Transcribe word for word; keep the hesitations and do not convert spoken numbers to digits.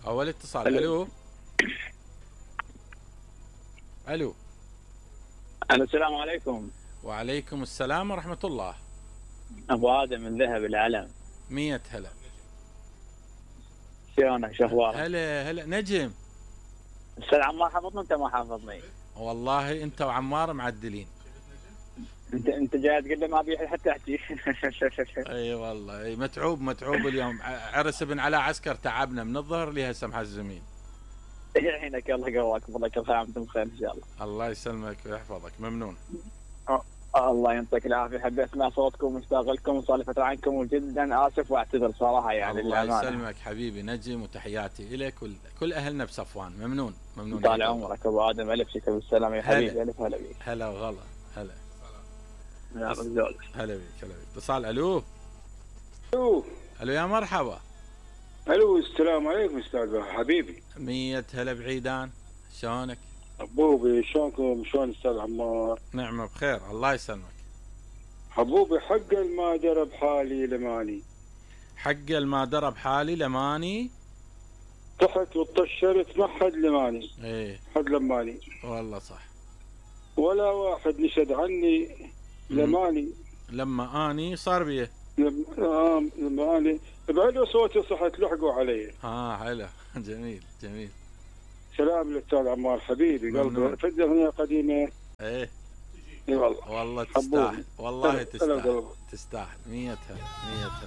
اول اتصال. الو الو الو الو السلام عليكم. وعليكم السلام ورحمة الله. ابو ادم من ذهب العلم. مية هلا. شلونك شو اخبارك؟ هلا هلا نجم. استاذ عمار حافظني انت ما حافظني؟ والله انت وعمار معدلين. انت انت جاي تقول لي ما ابي حتى احكي. اي والله اي متعوب متعوب اليوم. عرس ابن علاء عسكر تعبنا من الظهر لهسه محزمين. يعينك الله يقواك والله كل خير وانتم بخير ان شاء الله. الله يسلمك ويحفظك. ممنون. أه. الله يعطيك العافيه. حبيت اسمع صوتكم ومشتاق لكم وصار لي فتره عنكم وجدا اسف واعتذر صراحه يعني. الله يسلمك حبيبي نجم وتحياتي لك وكل اهلنا بصفوان. ممنون ممنون. طال عمرك ابو ادم. الف شكر بالسلامه يا حبيبي. الف هلا بيك. هلا وغلا. هلا هلا هلا بيك. هلا بيك. اتصال. الو الو الو يا مرحبا. الو السلام عليكم استاذ حبيبي. مية هلا بعيدان. شلونك؟ حبوبي شلونكم؟ شلون استاذ عمار؟ نعمة بخير الله يسلمك. حبوبي حق ما درب حالي لماني. حق ما درب حالي لماني. طحت وطشرت ما حد لماني. ايه حد لماني. والله صح. ولا واحد نشد عني لماني. لما اني صار بيه. لما, لما اني بعلو صوتي صحت لحقوا علي. اه حلو. جميل جميل. سلام للاستاذ عمار حبيبي قلبي. فد اغنيه قديمه. ايه اي والله والله تستاهل. والله حبوبي. تستاهل تستاهل. مية هلا. مية هلا.